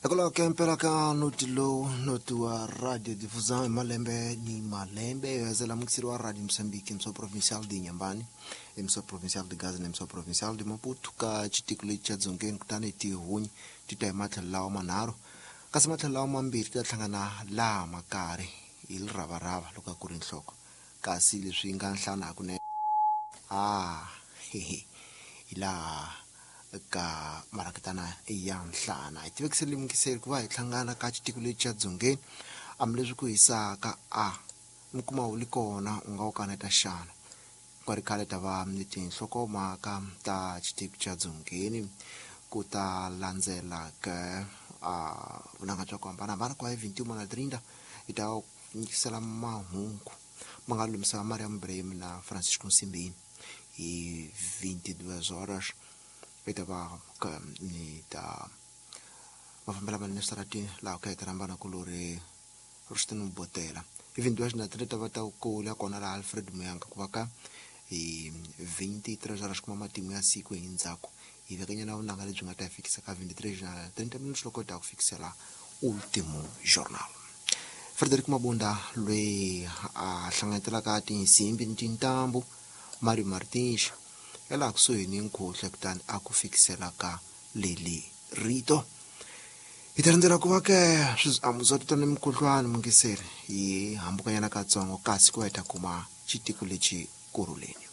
Hikwalaho ka impela ka noti lowu noti wa Radio Difusão hi malembe ni malembe yo mukiseri wa Radio Moçambique, emissão provincial de Inhambane, emissão provincial de Gaza na emissão provincial de Maputo ka xitiko lexi xa Dzongeni, kutani tihunyi ti ta hi matlhelo lawa manharhu, kasi matlhelo lawa mambirhi ti ta hlangana laha makari hi liravarava loko a ku ri nhloko, kasi leswi nga nhlana hakunene a hi laha ka marakitana ya nhlana. Hi tivekisele mukiseri ku va hi hlangana ka xitiko lexi xa Dzongeni, hambileswi ku hisaka a mi kuma wu li kona u nga wu kaneta xana. Ku ri khale ta va ni tinhlokomhaka ta xitiko xa Dzongeni, ku ta landzela ka a vunanga bya ku hambanahambana ku va hi 21 na 30 hi ta nyikisela mahungu ma nga lumisa Mariam Ibrahim na Francisco Nsimbini. Hi 22 horas hi ta va ni ta mafambela manene switaratini laha ku heta rhambana kulori Rustin Botela. Hi 22 na 30 ta va ta kula kona laha Alfred Muyanga, ku va ka hi 23 horas kuma matimu ya siku hi ndzhaku hi vekanyana vunanga lebyi nga ta hi fikisa ka 23 na 30 minutes loko ta ku fikisela Ultimo Journal. Frederick Mabunda loyi a hlanganyetelaka tinsimbi ni tintambu, Mario Martins ya laha kusuhi ni nkhuhle, kutani a ku fikisela ka leli rito. Hi ta rindzela ku va ke swiambuzo ni mukhuhlwani mungiseri hi hambukanyana katsongo, kasi ku va hi ta kuma xitiko lexi kurhuleni.